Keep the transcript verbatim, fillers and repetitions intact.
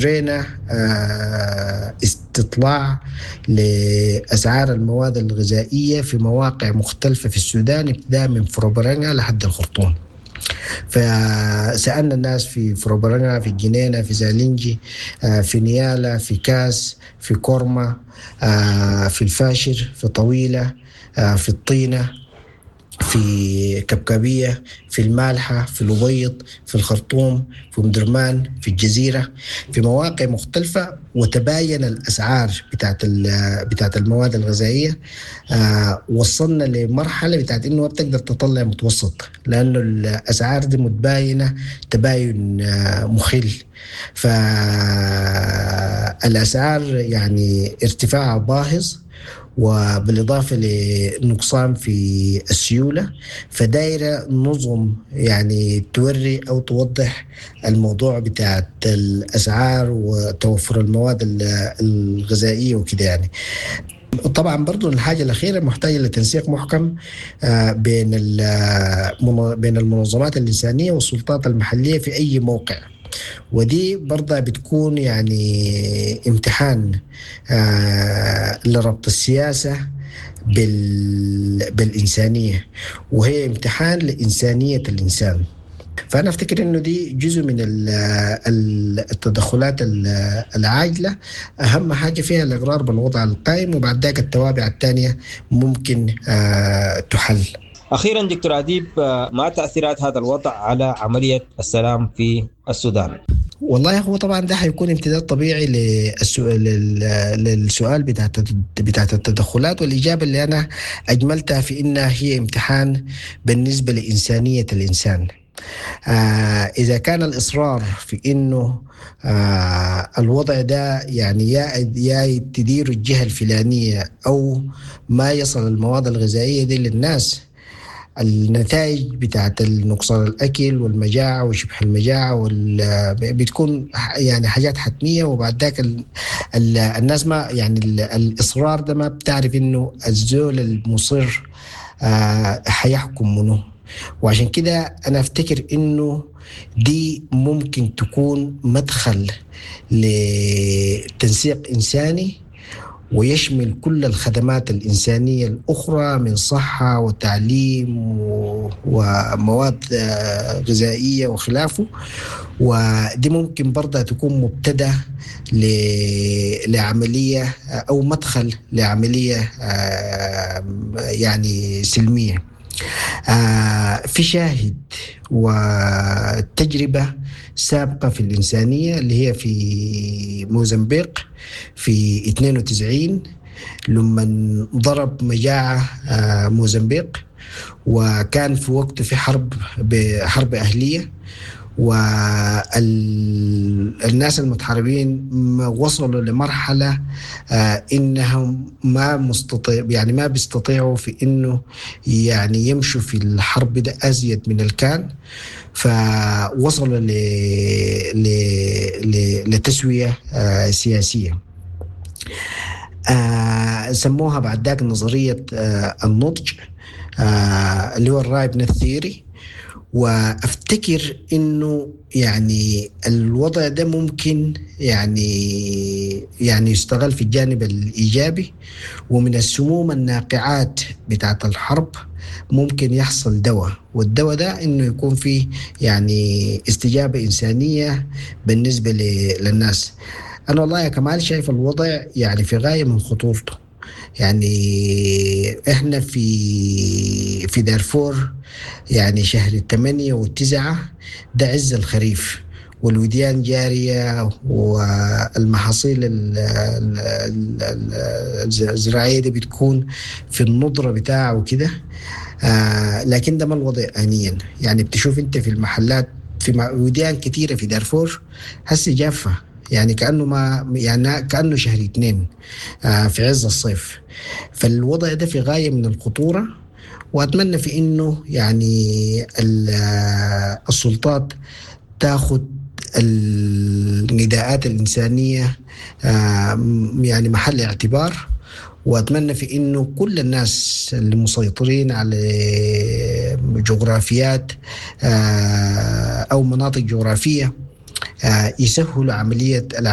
أجرينا استطلاع لأسعار المواد الغذائية في مواقع مختلفة في السودان، ابتداء من فروبرانقا لحد الخرطوم. فسألنا الناس في فروبرانقا، في الجنينة، في زالنجي، في نيالا، في كاس، في كورما، في الفاشر، في طويلة، في الطينة، في كبكابية، في المالحة، في الأبيض، في الخرطوم، في أم درمان، في الجزيرة، في مواقع مختلفة، وتباين الأسعار بتاعت ال-، بتاعت المواد الغذائية. آه، وصلنا لمرحلة بتاعت إنه ما بتقدر تطلع متوسط، لأنه الأسعار دي متباينة تباين، آه، مخل. فالأسعار يعني ارتفاعها باهظ، وبالإضافة لنقصان في السيولة، فدايرة نظم يعني توري أو توضح الموضوع بتاع الأسعار وتوفر المواد ال-، الغذائية وكده يعني. طبعا برضو الحاجة الأخيرة محتاجة لتنسيق محكم، آه، بين ال-، من-، بين المنظمات الإنسانية والسلطات المحلية في أي موقع، ودي برضه بتكون يعني امتحان، آه، لربط السياسة بال-، بالإنسانية، وهي امتحان لإنسانية الإنسان. فأنا أفتكر إنه دي جزء من ال-، ال-، التدخلات ال-، العاجلة، أهم حاجة فيها الإقرار بالوضع القائم، وبعد ذاك التوابع الثانية ممكن، آه، تحل. أخيرا دكتور أديب، آه، ما تأثيرات هذا الوضع على عملية السلام في السودان؟ والله هو طبعا ده حيكون امتداد طبيعي للسؤال، لل-، للسؤال بتاعت الت-، بتاعت التدخلات، والإجابة اللي أنا أجملتها في إنها هي امتحان بالنسبة لإنسانية الإنسان. آه، إذا كان الإصرار في إنه، آه، الوضع ده يعني يا، يا تدير الجهة الفلانية أو ما يصل المواد الغذائية دي للناس، النتائج بتاعت النقصان الأكل والمجاعة وشبه المجاعة وال-، بتكون يعني حاجات حتمية. وبعد ذاك ال-، ال-، الناس ما يعني ال-، الإصرار ده ما بتعرف إنه الزول المصر، آه، حيحكم منه. وعشان كده أنا أفتكر إنه دي ممكن تكون مدخل لتنسيق إنساني ويشمل كل الخدمات الإنسانية الأخرى من صحة وتعليم و-، ومواد، آه، غذائية وخلافه. ودي ممكن برضه تكون مبتدأ ل-، لعملية، آه، أو مدخل لعملية، آه، يعني سلمية. آه، في شاهد وتجربة سابقة في الإنسانية اللي هي في موزمبيق في اثنين وتسعين لما ضرب مجاعة، آه، موزمبيق، وكان في وقته في حرب، حرب أهلية، والناس المتحاربين ما وصلوا لمرحلة، آه، إنهم ما مستطيع، يعني ما بيستطيعوا في إنه يعني يمشوا في الحرب ده أزيد من الكان، فوصلوا ل-، ل-، ل-، لتسوية، آه، سياسية. آه، سموها بعد ذاك نظرية، آه، النضج، آه، اللي هو الرايبنس ثيوري. وأفتكر إنه يعني الوضع ده ممكن يعني، يعني يستغل في الجانب الإيجابي، ومن السموم الناقعات بتاعت الحرب ممكن يحصل دواء، والدواء ده إنه يكون فيه يعني استجابة إنسانية بالنسبة ل-، للناس. أنا والله يا كمال شايف الوضع يعني في غاية من خطورته. يعني إحنا في، في دارفور يعني شهر الثمانية والتسعة ده عز الخريف، والوديان جارية والمحاصيل ال-، ال-، ال-، ال-، الزراعية دي بتكون في النضرة بتاعه وكده. آه، لكن ده ما الوضع آنيا. يعني بتشوف أنت في المحلات في م-، وديان كتيرة في دارفور هسه جافة، يعني كأنه ما، يعني كأنه شهر اثنين، آه، في عز الصيف. فالوضع ده في غاية من الخطورة، وأتمنى في إنه يعني ال-، آه، السلطات تاخد النداءات الإنسانية، آه، يعني محل اعتبار، وأتمنى في إنه كل الناس اللي مسيطرين على جغرافيات، آه، أو مناطق جغرافية، آه، يسهلوا عملية العملية.